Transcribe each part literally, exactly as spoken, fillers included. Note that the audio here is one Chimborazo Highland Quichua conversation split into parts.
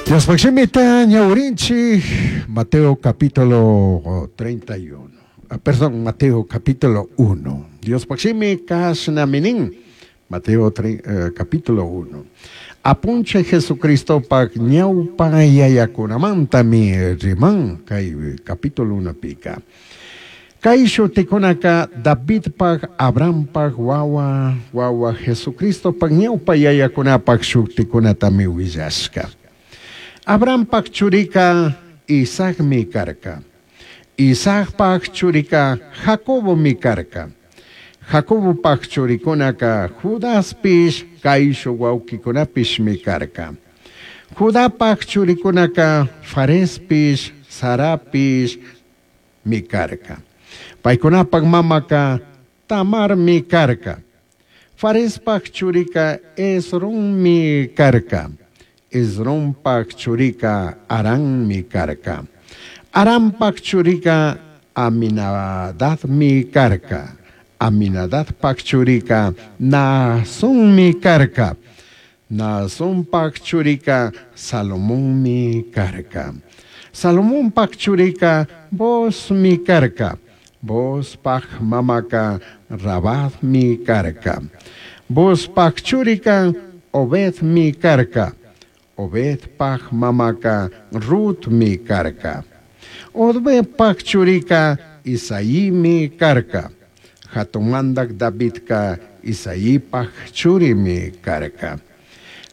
Diospaj shimita ñawirinchik Mateo capítulo treinta y uno. Ah, perdón, Mateo capítulo uno. Diospaj shimi kashnami nin. Mateo eh, capítulo uno. Apunchij Jesucristopaj ñaupa yayacunamantami riman kay capítulo unopika. Kay shutikunaka Davidpaj, Abrahampaj wawa, wawa Jesucristopaj ñaupa yayakunapaj shutikunatami willashka. Abrahampaj churika Isaacmi karka. Isaacpaj churika Jacobomi karka. Jacobopaj churikunaka Judaspish kaishuj huauquikunapishmi karka. Judapaj churikunaka Farespish, Zarapish mi karka. Paicunapaj mamaka Tamarmi karka. Farespaj churika Esronmi karka. Esronpaj churika Arammi karka. Arampaj churika Aminadadmi karka. Aminadadpaj churika Naasonmi karka. Naasonpaj churika Salomonmi karka. Salomonpaj churika Boozmi karka. Boozpaj mamaka Rahabmi karka. Boozpaj churika Obedmi karka. Obedpaj mamaka Rutmi karka. Obedpaj churika Isaimi karka. Jatun mandaj Davidka Isaipaj churimi karka.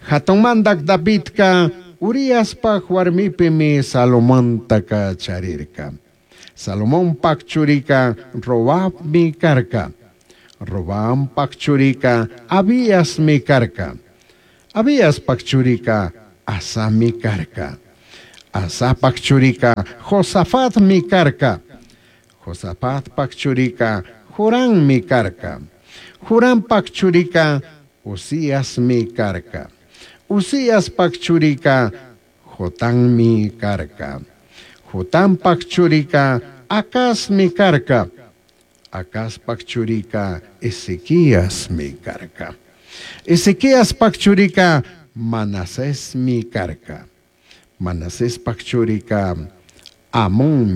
Jatun mandaj Davidka Uriaspaj huarmipimi Salomontaka charirka. Salomonpaj churika Roboammi karka. Roboampaj churika Abiasmi karka. Abiaspaj churika Asami karka. Asapaj churika Josafatmi karka. Josafatpaj churika Jorammi karka. Jorampaj churika Uziasmi karka. Uziaspaj churika Jotammi karka. Jotampaj churika Acazmi karka. Acazpaj churika Ezequiasmi karka. Ezequiaspaj churika Manasesmi karka. Manasespaj churika Amón.